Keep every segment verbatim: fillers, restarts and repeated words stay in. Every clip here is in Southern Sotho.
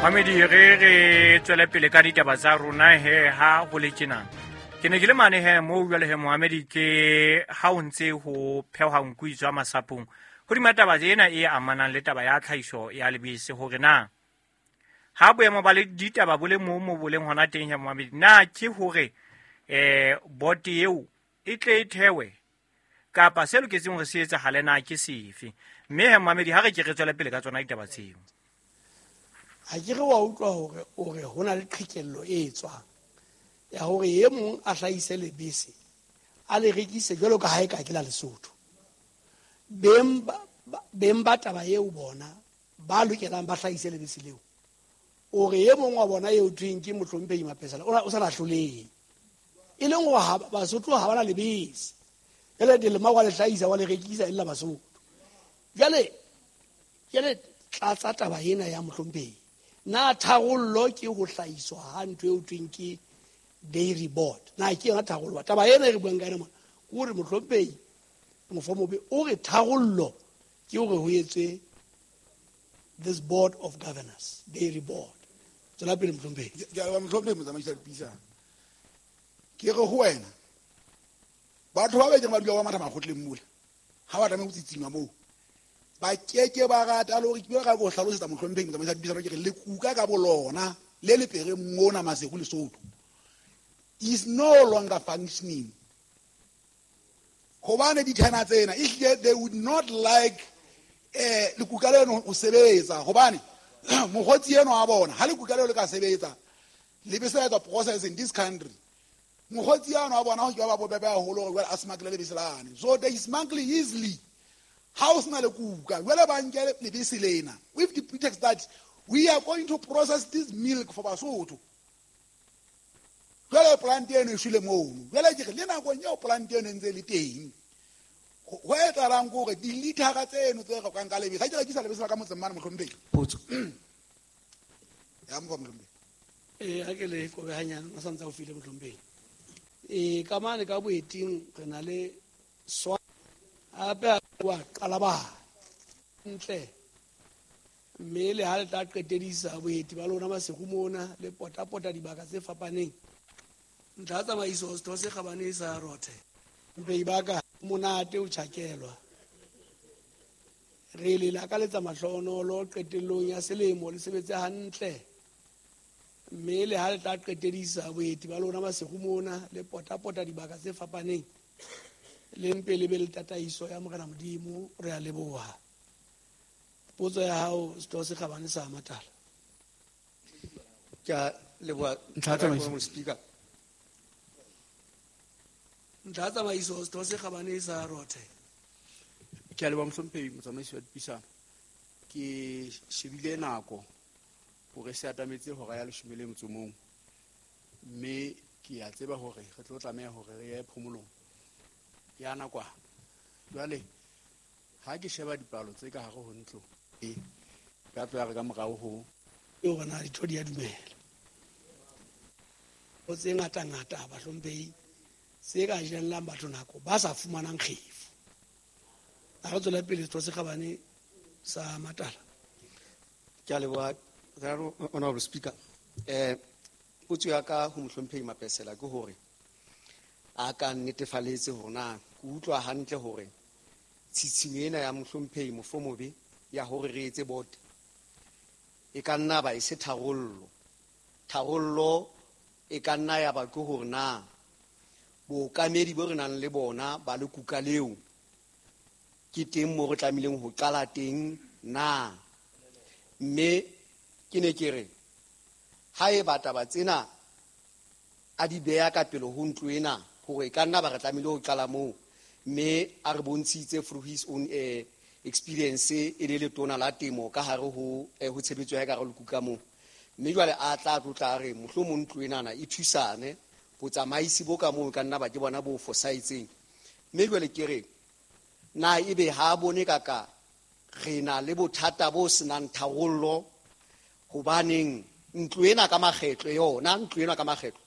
Mamedi, re re tswele pele ka ditaba tsa rona he ha ho le tjena. Ke ne ke le mane he moo jwale he Mohamedi, ke ha o ntse ho phehwa nku e tswa masapong. Hodima taba ena e amanang le taba ya tlhahiso ya lebese, hore na ha boemo ba le ditaba bo le moo mo bo leng hona teng he Mohamedi, na ke hore eh bote eo e tle e thewe kapa se loketseng hore se etsahale na ke sefe? Mme he Mohamedi, ha re ke re tswele pele ka tsona ditaba tseo. Ha ke re wa utlwa hore o re ho na le qhekello e tswang ya hore e mong a hlahise lebese a le rekise jwalo ka ha e ka ke la Lesotho. Beng ba, beng ba taba eo bona ba lokelang ba hlahise lebese leo, o re e mong wa bona eo thweng ke mohlomphehi Mapesela o, o sa na hlolehe, e leng hore ha Basotho ha ba na lebese. Jwale Delema wa le hlahisa wa le rekisa e le la Basotho. Jwale jwale tlatsa taba ena ya mohlomphehi, na tharollo ke ho hlahiswa ha ntho eo thweng ke dairy board? Na ke yona tharollo? Taba ena e re buang ka yona mona ke hore mohlomphehi Mofomobe o re tharollo ke hore ho etswe this board of governors, dairy board. Tswela pele mohlomphehi. Ke a leboha mohlomphehi motsamaisi wa dipuisano. Ke re ho wena, batho ba bekeng ba dula ba matha makgotleng mola, ha ba tlameha ho tsitsima moo, ba keke ba rata le hore ke ka go hlalosetsa mohlomphehi motsamaisi wa dipuisano, ke re lekuka ka bolona le lepere mona Maseru Lesotho is no longer functioning. Hobane dithena tsena ehlile they would not like eh lekuka leno ho sebetsa, hobane mokgotsi eno wa bona ha lekuka leo le ka sebetsa lebese la etsa process in this country, mokgotsi eno wa bona ho ke ba bobebe haholo hore jwale a smuggle lebese lane. So they smuggle easily ha o sena lekuka. Jwale ba nke lebese lena with the pretext that we are going to process this milk for Basotho. Jwale plant eno e shwele mono. Jwale ke re le nakong eo plant eno e ntse e le teng, ho etsahalang ke hore dilithara tseno tse rekwang ka lebese, ha ke rekisa lebese la ka motseng mane mohlomphehi. Potso. Ya mokgwa mohlomphehi. Eh, ha ke le kobe hanyane, a santse a o file mohlomphehi. Eh, ka mane ka boeting re na le swa hape wa qala ba ntle, mme le ha le tla qetedisa boeti ba lona Maseru mona le potapota dibaka tse fapaneng. Ntlha tsamaiso setho se kgabane sa Rothe, mpei ba ka monate o tjhakelwa. Re le lakaletsa mahlonolo qetellong ya selemo, le sebetse hantle, mme le ha le tla qetedisa boeti ba lona Maseru mona le potapota dibaka tse fapaneng, le mpe le be le tataiso ya Morena Modimo. Re a leboha. Potso ya hao setho se kgabane sa Matala. Ke a leboha. Ntlha tsamaiso. Speaker. Ntlha tsamaiso setho se kgabane sa Rothe. Ke a leboha mohlomphehi motsamaisi wa dipuisano. Ke shebile nako hore se atametse hora ya leshome le motso mong, mme ke a tseba hore re tlo tlameha hore re ye phomolong ya nakwana. Jwale ha ke sheba dipalo tse ka hare ho ntlo e ka tlo ya re ka morao ho e hore na ditho di a dumela. Ho tse ngata-ngata bahlomphehi tse ka jellang batho nako ba sa fumanang kgefu. A re tswele pele setho se kgabane sa Matala. Ke a leboha, Honorable Speaker. Eh, potso ya ka ho mohlomphehi Mapesela ke hore a ka nnetefaletse hore na ke utlwa hantle hore tshitshinyo ena ya mohlomphehi Mofomobe ya hore re etse board e ka nna ba e se tharollo. Tharollo e ka nna ya ba ke hore na bookamedi bo re nang le bona ba lekuka leo ke teng moo re tlamehileng ho qala teng na. Mme ke ne ke re haeba taba tsena a di beha ka pele ho ntlo ena hore e ka nna ba re tlamehile ho qala moo, mme a re bontshitse through his own, eh, experience e le letona la temo ka hare ho, eh, ho tshebetso ya ka hare ho lekuka moo. Mme jwale a tla tlotla a re mohlomong ntlo enana e thusane, botsamaisi bo ka moo ka nna ba ke bona bo fosahetseng. Mme jwale ke re na ebe ha bone kaka re na le bothata bo senang tharollo, hobaneng ntlo ena ka makgetlo yona, ntlo ena ka makgetlo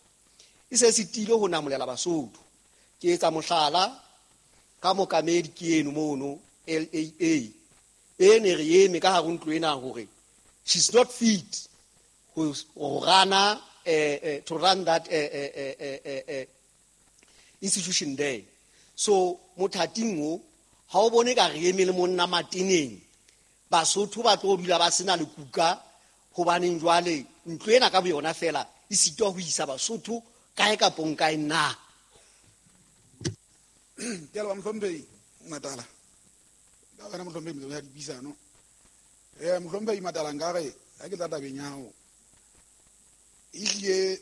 e se sitile ho namolela Basotho. Ke etsa mohlala ka mokamedi ke eno mono L A A e ne re eme ka hare ho ntlo ena hore she's not fit, ho rana eh, eh, to run that eh, eh, eh, eh, eh, institution there. So mothating o ha o bone ka re eme le monna mateneng, Basotho ba tlo dula ba sena lekuka, hobaneng jwale ntlo ena ka boyona fela e sitwa ho isa Basotho kae kapa kae na? Ke a leboha mohlomphehi Matala. Ka wena mohlomphehi motsamaisi wa dipuisano. Eh mohlomphehi Matala, nkare ha ke tla tabeng ya hao, ehlile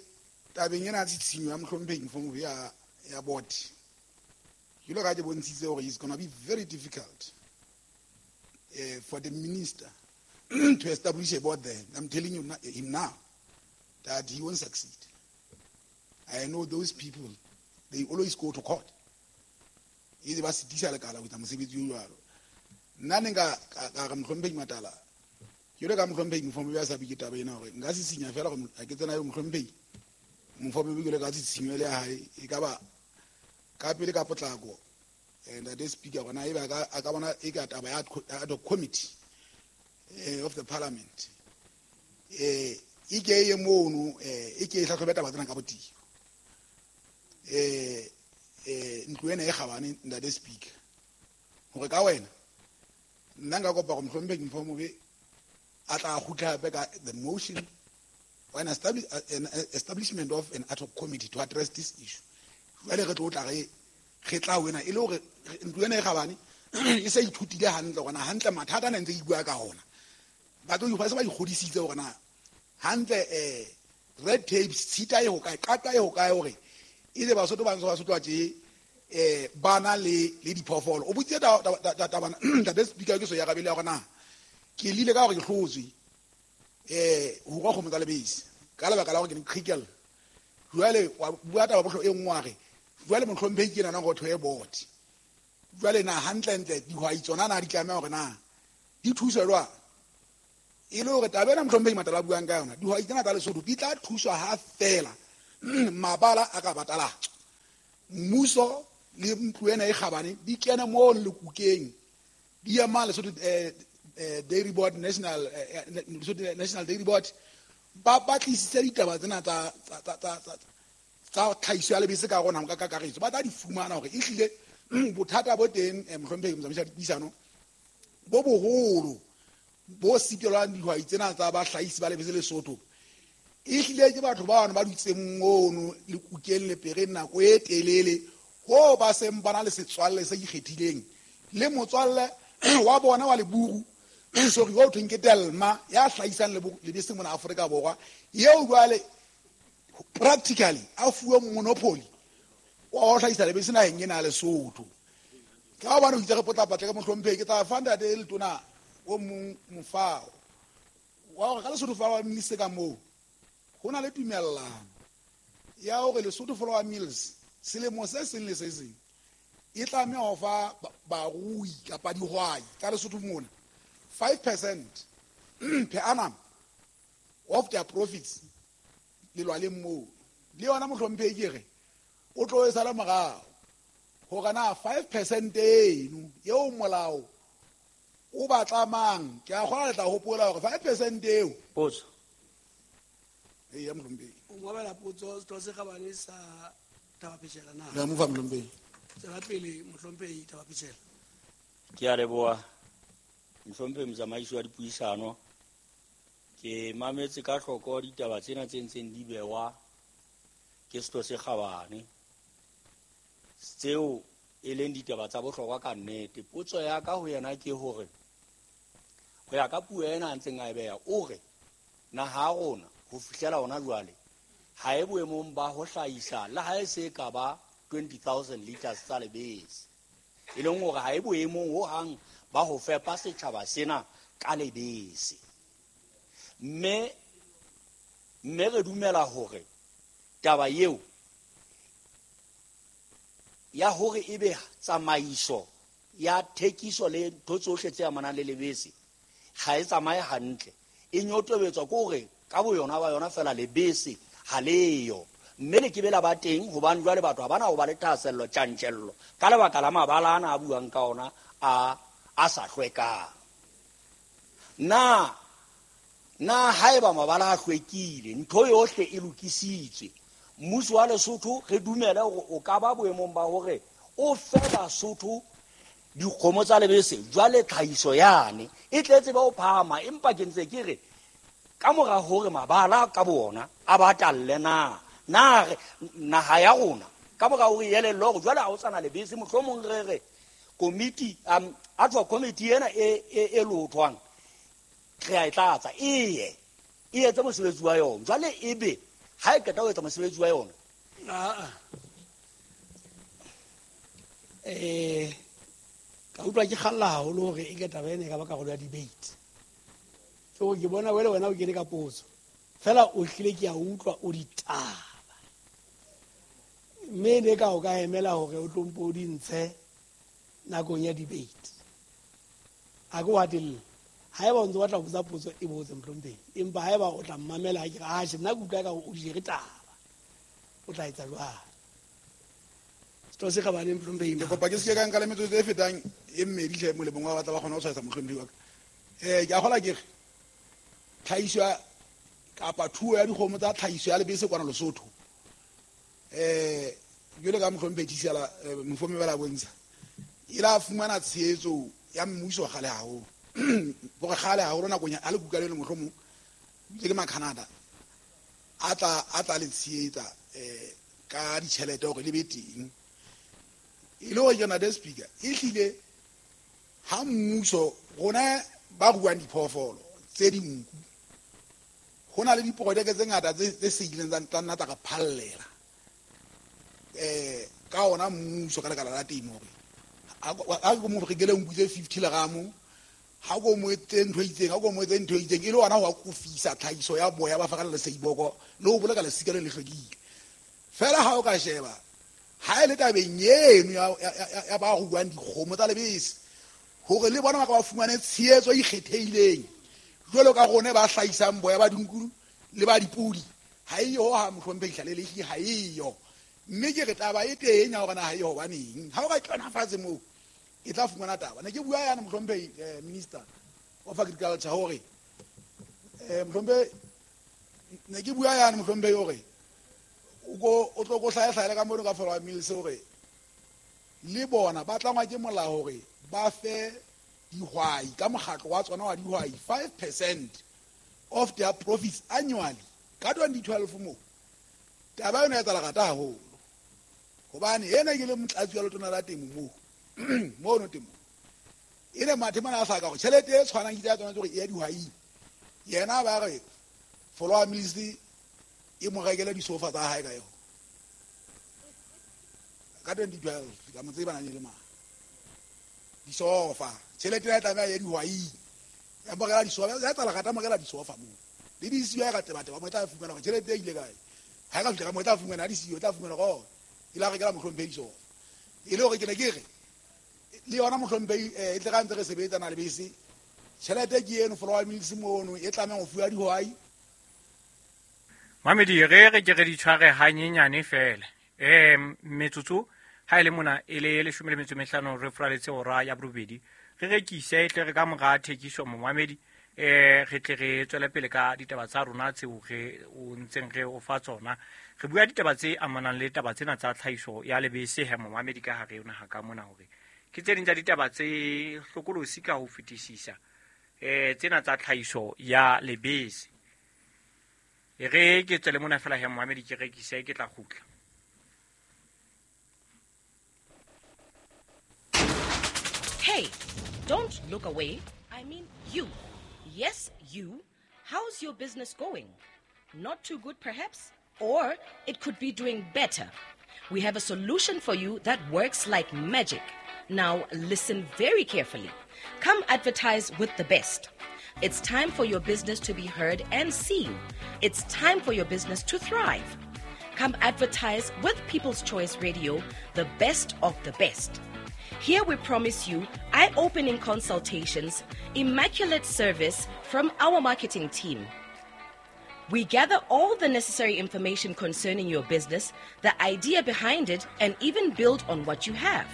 tabeng ena ya tshitshinyo ya mohlomphehi Mofomobe ya ya board, jwalo ka ke bontshitse hore it's gonna be very difficult uh, for the minister to establish a board there. I'm telling you him now that he won't succeed. I know those people, they always go to court. E ba sitisa lekala ho etsa mosebetsi o jwalo. Nna ne nka ka re mohlomphehi Matala, jwalo ka mohlomphehi Mofomobe a sa bue taba ena, hore nka sisinya fela hore ha ke tsena eo mohlomphehi Mofomobe jwalo ka tshitshinyo le ya hae, e ka ba ka pele ka potlako. Ntate Speaker, hore na ebe a ka bona e ka taba ya ad hoc committee eh, of the parliament eh e ke ye mono, eh e ke e hlahlobe taba tsena ka botebo. Eh eh ntlo ena e kgabane, ntate Speaker, hore ka wena nna nka kopa hore mohlomphehi Mofomobe a tla kgutla hape ka the motion or an establish, an establishment of an ad hoc committee to address this issue. Jwale re tlo tla re re tla wena e le hore ntlo ena e kgabane e se ithutile hantle hore na hantle mathata a ne ntse e bua ka ona. Ba tlo ba se ba ikgodisitse hore na hantle eh red tape tshita e ho kae, qata e ho kae, hore e le Basotho ba ntse ba sotwa tje eh bana le le diphoofolo. O botse taba ntate Speaker, ke so ya rabele hore na ke lile ka hore ke hlotswe eh ho rua kgomo tsa lebese ka lebaka la hore ke ne qhekella. Jwale wa bua taba bohlo e nngwe wa re jwale mohlomphehi ke nana go thoe board. Jwale na hantlentle dihwai tsona na di tlameha hore na di thuswe jwang? E le hore taba ena mohlomphehi Matala buang ka yona, dihwai tsena tsa Lesotho di tla thuswa ha fela mabala a ka batalatswa, mmuso le ntlo ena e kgabane di kene mo lekukeng, di ema Lesotho eh, eh, Dairy Board, National eh, Lesotho National Dairy Board, ba batlisitse ditaba tsena tsa tsa tsa tsa tsa tlhahiso ya lebese ka rona ka kakaretso, ba tla di fumana hore ehlile bothata bo teng mohlomphehi motsamaisi wa dipuisano bo boholo bo sitelwang dihwai tsena tsa bahlahisi ba lebese Lesotho. Ehlile ke batho ba bana ba dutseng mono lekukeng lepereng nako e telele, ho ba seng ba na le setswalle se ikgethileng le motswalle wa bona wa leburu, sorry, wa thweng ke Delma ya hlahisang lebese mona Afrika Borwa, eo jwale practically a fuwe monopoly wa ho hlahisa lebese naheng ena ya Lesotho. Ka hobane o itse re potlapatla ka mohlomphehi, ke tla fa ntate Letona o mong mofao wa hore ka Lesotho Flour Mills ka moo ho na le tumellano ya hore Lesotho Flour Mills selemo se seng le se seng e tlameha ho fa barui kapa dihwai tsa Lesotho mona five percent per annum of their profits lelwaleng moo. Le yona mohlomphehi ke re o tlo e sala morao hore na five percent eno eo molao o ba tlamang, ke a kgona le tla hopola hore five percent eo. Potso. Ee, ya mohlomphehi. O ngwabela potso setho se kgabane sa Thaba-Phechela na? Ya mo fa mohlomphehi. Tswela pele mohlomphehi Thaba-Phechela. Ke a leboha mohlomphehi motsamaisi wa dipuisano. Ke mametse ka hloko ditaba tsena tse ntseng di bewa ke setho se kgabane, tseo e leng ditaba tsa bohlokwa ka nnete. Potso ya ka ho yena ke hore ho ya ka puo ena a ntseng a e beha, o re naha ya rona ho fihlela hona jwale ha e boemong ba ho hlahisa le ha e se ka ba twenty thousand liters tsa lebese, e leng hore ha e boemong hohang ba ho fepa setjhaba sena ka lebese. Mme mme re dumela hore taba eo ya hore ebe tsamaiso ya thekiso le ntho tsohle tse amanang le lebese ga e tsamaye hantle, e nyotobetswa ke hore ka boyona ba yona fela lebese ha leyo, mme le ke bela ba teng hobane jwale batho ha bana ho ba le thahasello tjantjello ka lebaka la mabala ana a buang ka ona a a sa hlwekang. Na Na haeba mabala a hlwekile, ntho yohle e lokisitswe, mmuso wa Lesotho re dumele hore o ka ba boemong ba hore o fe Basotho dikgomo tsa lebese, jwale tlhahiso yane e tletse ba o phahama. Empa ke ntse ke re ka mora hore mabala ka bona a batalle na na re naha ya rona ka mora hore e elellwe hore jwale ha o sana lebese, mohlomong re re komiti um a tswa komiti ena e e lothwang re a e tlatsa eye e etse mosebetsi wa yona. Jwale ebe ha e qeta ho etsa mosebetsi wa yona eh ka utlwa ke kgalla haholo hore e ke taba ena e ka ba karolo ya debate. Ke hore ke bona wele wena o kene ka potso fela o hlile ke a utlwa o ditaba, mme ne ka o ka emela hore o tlo mpo o di ntshe nakong ya debate. A ke wa telle haeba o ntse o batla ho botsa potso e botse mohlomphehi, empa haeba o tla mmamela ha ke re atjhe nna ke utlwa ka hore o di jere taba, o tla etsa jwang? Setho se kgabane mohlomphehi. Ke kopa ke se ke ka nka le metsotso e fetang e mmedi hle molemong wa batla ba kgona ho tshwaetsa mohlomphehi wa ka. Eh ke a kgola ke re tlhahiso ya kapa thuo ya dikgomo tsa tlhahiso ya lebese kwana Lesotho, eh jwale ka mohlomphehi Thisela Mofome ba la bontsha e la fumana tshehetso ya mmuso kgale haholo. Hore kgale haholo nakong ya lekuka leno mohlomong le ke Macanada a tla a tla le tshehetsa eh ka ditjhelete hore le be teng. E le hore ke na speaker e hlile ha mmuso rona ba ruang diphoofolo tse dinku ho na le diprojeke tse ngata tse tse seileng tsa nna tsa re phallela eh ka ona mmuso ka lekala la temo hore ha ke mo rekele nku tse fifty leramo, ha ko mo etse ntho e itseng, ha ko mo etse ntho e itseng, e le hona ho akofisa tlhahiso ya boya ba fakala le seiboko le ho boloka lesika le le hlwekile. Fela ha o ka sheba ha e le tabeng eno ya ya ba ruang dikgomo tsa lebese hore le bona ba ka ba fumane tshehetso e ikgethehileng jwalo ka rona ba hlahisang boya ba dinku le ba dipodi, ha e yo ha mohlomphehi Hlalelehli, ha e yo. Mme ke re taba e teng ya hore na ha e hobaneng ha o ka kena fatshe moo e tla fumana taba. Ne ke bua yana mohlomphehi Minister of Agriculture hore eh mohlomphehi ne ke bua yana mohlomphehi hore o ko o tlo go hlaehlaela ka mono ka Flour Mills hore le bona ba tlangwa ke molao hore ba fe dihwai ka mokgatlo wa tsona wa dihwai five percent of their profits annually ka twenty twelve mo. Taba ena e etsahala rata haholo hobane ena ke le motlatsi wa letona la temo moo mono temo e le mathe mana a hlaka hore tjhelete e tshwanang ke tsa tsona tse hore e ya dihwaing, yena ba re Flour Mills e mo rekele disofa tsa hae ka yona ka twenty twelve. Ka mo tseba na le mang disofa tjhelete ya tlameha ya dihwaing ya mo rekela disofa ya tsala rata mo rekela disofa moo le disiyo ya ka tebateba mo tla fumana hore tjhelete e ile kae. Ha ka fihla ka mo tla fumana disiyo tla fumana hore e la rekela mohlomphehi disofa. E le hore ke ne ke re le yona mohlomphehi e tle ka ntse re sebetsana le bese tjhelete ke eno Flour Mills mono e tlamehang ho fuwa dihwai. Mamedi re re ke re di tshware hanyenyane fela eh metsotso ha ile mona e le leshome le metso e mehlano re furaletse hora ya borobedi re rekise e tle re ka mora thekiso momamedi eh re tle re tswele pele ka ditaba tsa rona tseo re o ntseng re o fa tsona. Re bua ditaba tse amanang le taba tsena tsa tlhahiso ya lebese he momamedi ka hare yona ha ka mona hore ke tse ding tsa ditaba tse hlokolosi ka ho fetisisa eh tsena tsa tlhahiso ya lebese. E re ke tswele mona fela he momamedi ke rekise ke tla kgutla. Hey, don't look away. I mean you. Yes, you. How's your business going? Not too good, perhaps? Or it could be doing better. We have a solution for you that works like magic. Now, listen very carefully. Come advertise with the best. It's time for your business to be heard and seen. It's time for your business to thrive. Come advertise with People's Choice Radio, the best of the best. Here we promise you eye-opening consultations, immaculate service from our marketing team. We gather all the necessary information concerning your business, the idea behind it, and even build on what you have.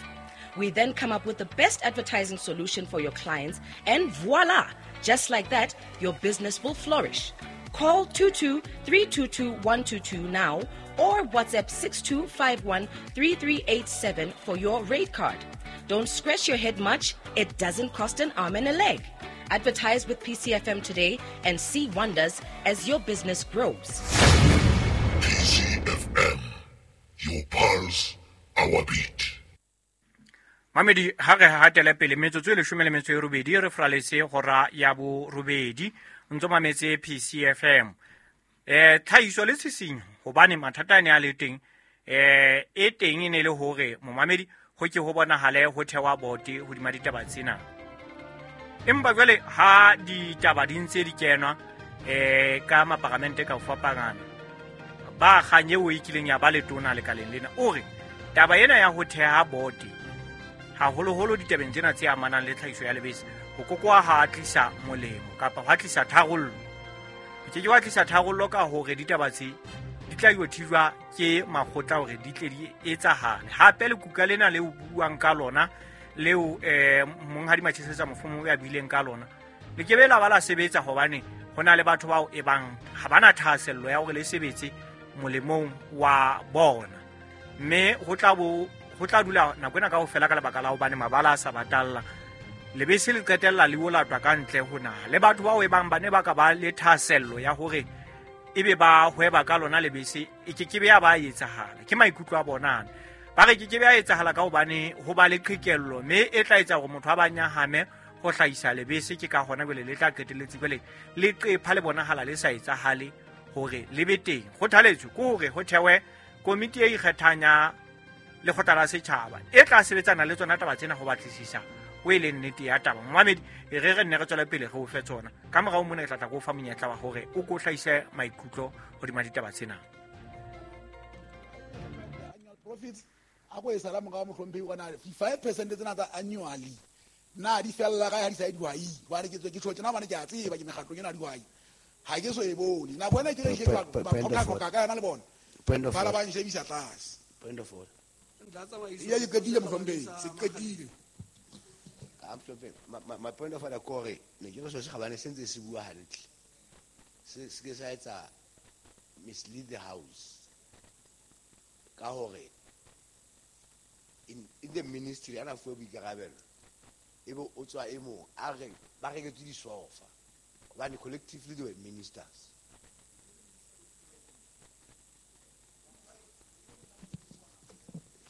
We then come up with the best advertising solution for your clients, and voila, Just like that, your business will flourish. Call two two three two two one two two now or WhatsApp six two five one three three eight seven for your rate card. Don't scratch your head much. It doesn't cost an arm and a leg. Advertise with P C F M today and see wonders as your business grows. P C F M, your pulse, our beat. Mamedi ha re hatele pele metsotso e leshome le metso e robedi re fraletse hora ya borobedi ntso mametse P C F M. Eh tlhahiso le tshisinyo hobane mathata a ne a le teng eh e teng e ne le hore momamedi ho ke ho bonahale ho thewa bote hodima ditaba tsena. Empa jwale ha ditaba di ntse di kenwa eh ka maparamente ka ho fapana ba kganye o ikileng ya ba letona lekaleng lena o re taba ena ya ho theha bote haholoholo ditabeng tsena tse amanang le tlhahiso ya lebese ho kokoa ha tlisa molemo kapa ha tlisa tharollo. Ho ke ke wa tlisa tharollo ka hore ditaba tse di tla yo thijwa ke makgotla hore di tle di etsahale. Hape lekuka lena le o buang ka lona leo eh monghadi Matjhesetsa Mofomo ya buileng ka lona le ke be la ba la sebetsa hobane ho na le batho bao e bang ha bana thahasello ya hore le sebetse molemong wa bona, mme ho tla bo ho tla dula nako ena kaofela ka lebaka la hobane mabala a sa batalla lebese le qetella le olatwa ka ntle ho naha. Le batho bao e bang ba ne ba ka ba le thahasello ya hore ebe ba hweba ka lona lebese e ke ke be ya ba etsahala. Ke maikutlo a bona ba re ke ke be ya etsahala ka hobane ho ba le qhekello mme e tla etsa hore motho a ba nyahame ho hlahisa lebese. Ke ka hona jwale le tla qetelletse jwale le qepha le bonahala le sa etsahale hore le be teng. Kgothaletso ke hore ho thewe komiti e ikgethang ya lekgotla la setjhaba e tla sebetsana le tsona taba tsena ho batlisisa o e leng nnete ya taba. Momamedi e re re nne re tswele pele re o fe tsona ka morao mona ke tla tla go fa monyetla wa hore o ko hlahise maikutlo hodima ditaba tsena. Annual profits a ko e sala morao mohlomphehi wa na five percent tsena tsa annually na di fella ka ha di sa dihwai hobane ke tswe ke tjho tjena hobane ke a tseba ke mekgatlong ena dihwai ha ke so e bone nako ena ke re ke ba ba ka yona le bona ba ba nshebisa tlase. Point of order. Ya ke qetile mohlomphehi se qetile. My, my point of order kore ne ke re so se gabane se ntse se bua hantle se se ke sa etsa mislead the house ka hore in, in the ministry ana fuwe boikarabelo ebe o tswa e mong a re ba reketswe disofa hobane collectively they were ministers.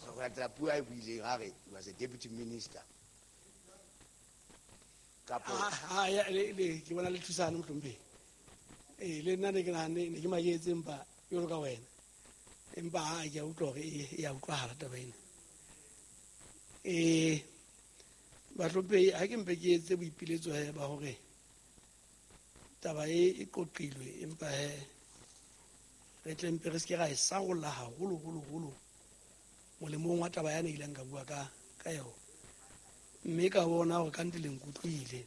So go latela puo a e buileng a re he was a deputy minister. Ah ya le le ke bona le thusana mohlomphehi. Eh le nna ne ke nahane ne ke maketse empa jwalo ka wena. Empa ha ke a utlwa hore e ya utlwahala taba ena. Eh bahlomphehi ha ke mpe ke etse boipiletso he ba hore taba e e qoqilwe empa he re tle mpe re se ke ra e sarolla haholo holo holo molemong wa taba yane ileng ka bua ka ka yona. Mme ka bona hore kante le nkutlwile.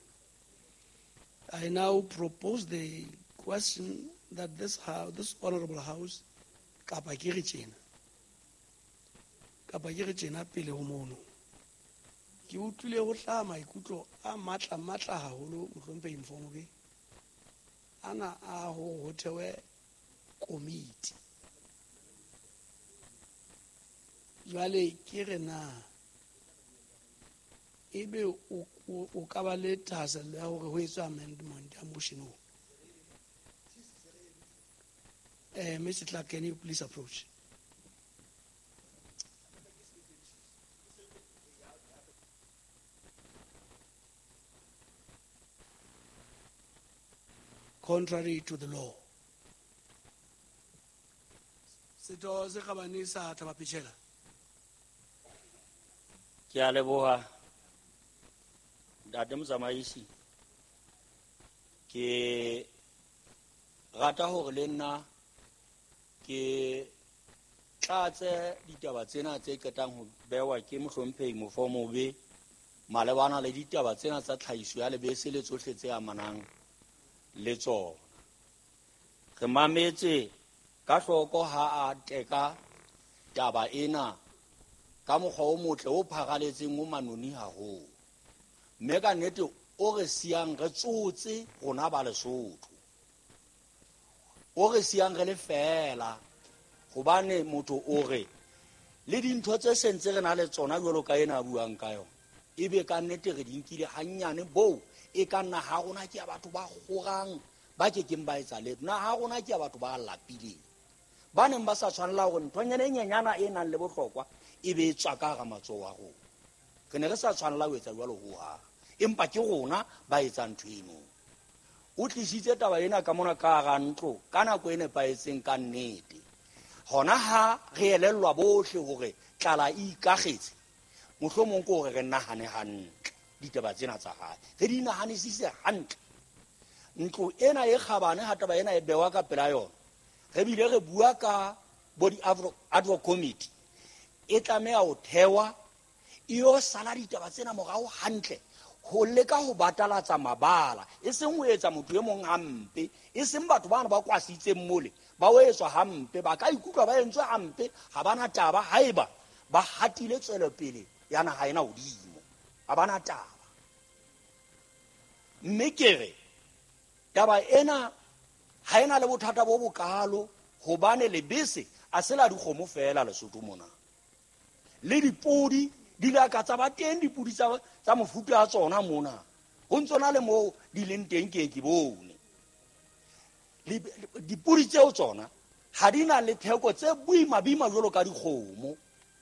I now propose the question that this house, this honorable house kapa ke re tjena kapa ke re tjena pele ho mono ke utlwile ho hlaha maikutlo a matla matla haholo mohlomphehi Mfomobe ana a ho ho thewe komiti. Jwale ke re na ebe o o ka ba le thahasello ya hore ho etswe amendment ya motion o. Eh Mister Clark, can you please approach? Contrary to the law. Setho se kgabane sa Thaba-Phechela. Ke a leboha ntate motsamaisi. Ke rata hore le nna ke tlatse ditaba tsena tse qetang ho bewa ke mohlomphehi Mofomobe malebana le ditaba tsena tsa tlhahiso ya lebese le tsohle tse amanang le tsona. Re mametse ka hloko ha a teka taba ena ka mokgwa o motle o pharaletseng o manoni haholo. Mme ka nnete o re siyang re tsotse rona ba Lesotho, o re siyang re le fela, hobane motho o re le dintho tse sentse re na le tsona jwalo ka ena a buang ka yona, ebe ka nnete re di nkile hannyane boo e ka nna ha rona ke ya batho ba kgorang ba kekeng ba etsa letho. Naha rona ke ya batho ba lapileng, ba neng ba sa tshwanela hore nthonyana e nyenyana e nang le bohlokwa e be e tswa ka hara matsoho a rona. Re ne re sa tshwanela ho etsa jwalo hohang, empa ke rona ba etsang ntho eno. O tlisitse taba ena ka mona ka hara ntlo ka nako e nepahetseng ka nnete. Hona ha re elellwa bohle hore tlala e ikagetse, mohlomong ke hore re nahane hantle ditaba tsena tsa hae, re di nahanisise hantle. Ntlo ena e kgabane ha taba ena e bewa ka pela yona, re bile re bua ka bo di-ad hoc committee e tlameha ho thewa e yo sala ditaba tsena morao hantle, ho leka ho batalatsa mabala, e seng ho etsa motho e mong hampe, e seng batho bana ba kwasitseng mole ba o etswa hampe, ba ka ikutlwa ba entswe hampe, ha bana taba haeba ba hatile tswelopele ya naha ena hodimo, ha bana taba. Mme ke re taba ena ha ena le bothata bo bokalo, hobane lebese a se la dikgomo fela Lesotho mona, le dipodi di la ka tsa ba teng, dipodi tsa tsa mofuta ya tsona mona ho ntsona le moo di leng teng ke ke bone. Dipodi tseo tsona ha di na le theko tse boima boima jwalo ka dikgomo.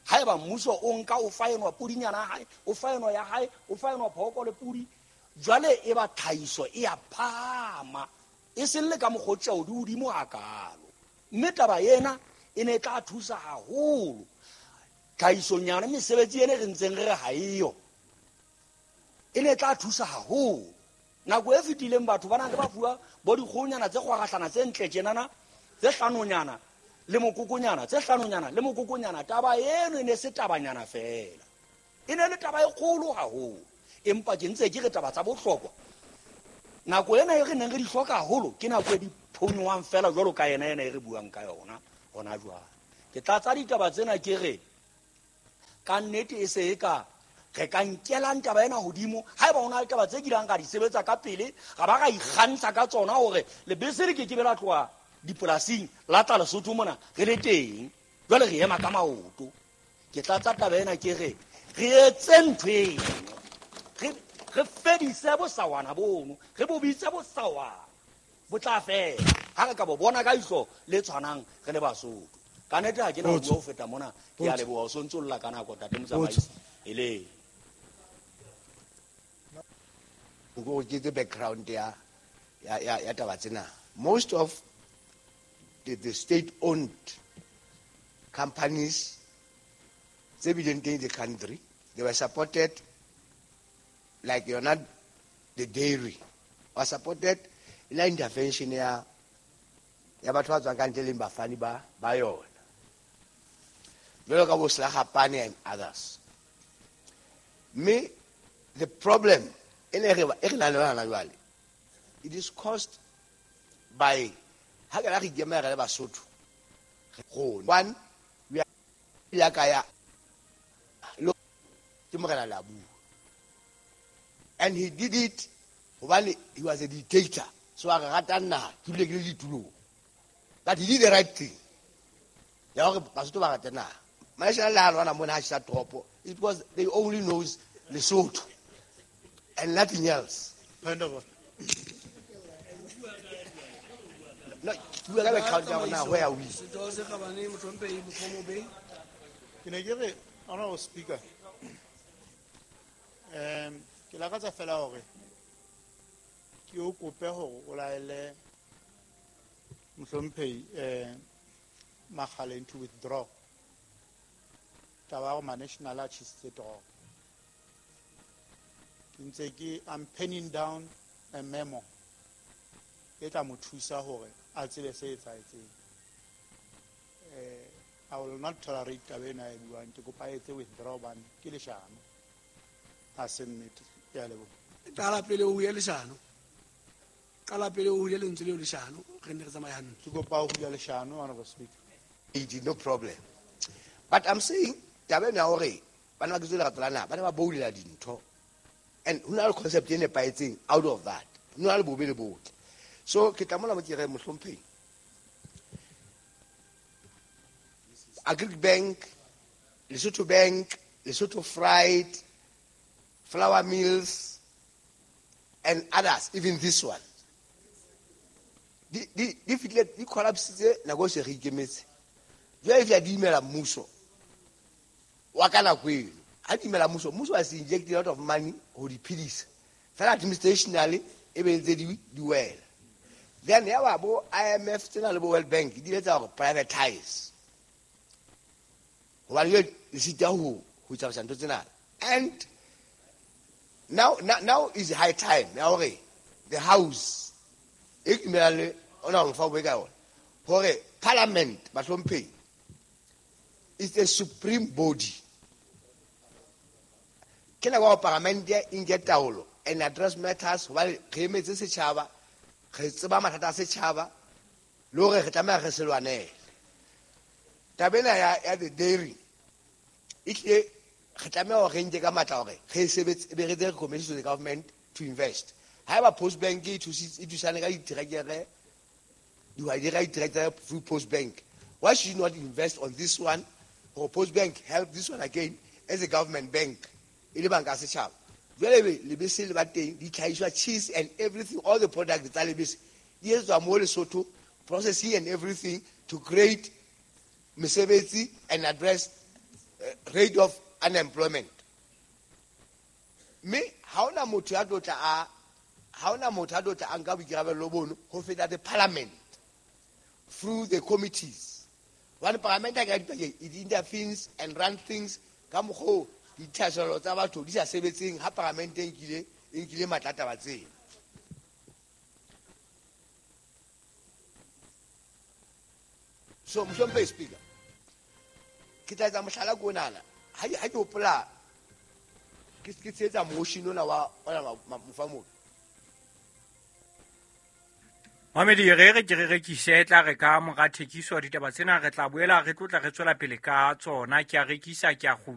Haeba mmuso o nka o fa enwa podinyana ya hae, o fa enwa ya hae, o fa enwa phooko le podi, jwale e ba tlhahiso e a phahama, e seng le ka mokgwa o tjeo di hodimo hakalo. Mme taba ena e ne e tla thusa haholo tlhahisong yona, mesebetsi ena re ntseng re re ha eyo, e ne e tla thusa haholo. Nako e fetileng batho ba nang le ba fuwa bo dikgohonyana tse kgwarahlana tse ntle tjenana, tse hlanonyana le mokokonyana, tse hlanonyana le mokokonyana, taba eno e ne se tabanyana fela, e ne le taba e kgolo haholo. Empa ke ntse ke re taba tsa bohlokwa nako ena e re neng re di hloka haholo ke nako e di phonyohang fela jwalo ka yena ena e re buang ka yona hona jwale. Ke tlatsa ditaba tsena ke re ka nnete e se e ka re ka nkelang taba ena hodimo. Haeba ho na le taba tse kileng ra di sebetsa ka pele, ra ba ra ikgantsha ka tsona hore lebese le ke ke be la tloha dipolasing la tla Lesotho mona re le teng, jwale re ema ka maoto. Ke tlatsa taba ena ke re re etse ntho eno, re re fedise bosawana bono, re bo bitse bosawana, bo tla fela ha re ka bo bona ka ihlo le tshwanang re le Basotho. Ka nnete ha ke na ho bua ho feta mona, ke a leboha o sontso lla ka nako ntate motsamaisi. Ele go ke the background ya ya ya ya taba tsena. Most of the, the state owned companies tse bileng teng in the country, they were supported, like yona the dairy was supported la intervention ya ya batho ba tswang ka ntle leng bafani ba ba yona, jwalo ka bo Slagapane and others. Mme the problem e ne re e re nang le yona jwale, it is caused by ha ke la re ikemela re le Basotho. One, we are ya ka ya ke morena la bua, and he did it hobane he was a dictator, so a re rata naha, ke bile ke le ditulong, but he did the right thing ya hore Basotho ba rate naha. Maishana le ha lwana mona ha tjhesa toropo, it's because they only knows Lesotho and nothing else. Point of order. No, ke bua ka background ya rona, where are we? Setho se kgabane, mohlomphehi Mokgomobe. Ke ne ke re, Honorable Speaker, um ke lakatsa fela hore ke o kope hore o laele mohlomphehi eh Makgaleng to withdraw taba ya hore ma-national a tjhesitse toropo. Ke ntse ke I'm penning down a memo e tla mo thusa hore a tsebe se etsahetseng. Eh I will not tolerate taba ena e buang, ke kopa a etse withdraw hobane ke leshano, ha se nnete. Ke a leboha. Qala pele o hule leshano, qala pele o hule lentswe leo leshano, re nne re tsamaye hantle. Ke kopa ho hula leshano, Honorable Speaker. It is no problem. But I'm saying taba ena ya hore bana ba ketso lerato la naha, ba ne ba boulela dintho. And ho na le concept e nepahetseng out of that. Ho na le bobe le botle. So ke tla mona mo ke re mohlomphehi, Agric Bank, Lesotho Bank, Lesotho Freight, Flour Mills, and others, even this one. Di di di fihlile di collapsitse nako e se re ikemetse. Jwale e fihla di imela mmuso wa ka nako eno. Ha di imela mmuso, mmuso has injected a lot of money ho di phedisa. Fela administrationally e be ntse di di wela. Then ya ba bo I M F tsena le bo World Bank di ile tsa hore privatize. Hobane jwale le sita ho ho tsamaisa ntho tsena. And now, now, now is high time ya hore the house e dumela le ona hore fa o ka yona hore parliament bahlomphehi is a supreme body. Ke nako ya hore parliament e nke taolo and address matters hobane re emetse setjhaba, re tseba mathata a setjhaba le hore re tlameha re se lwanele. Taba ena ya, ya the dairy e tlile re tlameha hore re nke ka matla hore re sebetse, be re etse recommendation to the government to invest. Haeba Post Bank e thusitse, e thusane ka diterekere, dihwai di reka diterekere through Post Bank, why should you not invest on this one? Or Post Bank help this one again as a government bank? E le banka ya setjhaba. Jwale ebe lebese le ba teng, ditlhahiswa, cheese and everything, all the products tsa lebese di etswa mo Lesotho, processing and everything to create mesebetsi and address, uh, rate of unemployment. Mme ha hona motho ya tlo tla a, ha hona motho ya tlo tla a nka boikarabelo bono ho feta the parliament through the committees. Hobane parliament ha e ka dipakeng, it intervenes and run things ka mokgwa oo dithahasello tsa batho di sa sebetseng ha parliament e nkile, e nkile matla a taba tsena. So mohlomphehi Speaker, ke tla etsa mohlala ko onana. Ha ke, ha ke hopola, ke, ke tshehetsa motion ona wa, ona wa, ma, Mofamobi. Mohamedi, re re ke re rekise, tla re ka mora thekiso ditaba tsena re tla boela re tlotla re tswela pele ka tsona. Ke a rekisa, ke a kgutla.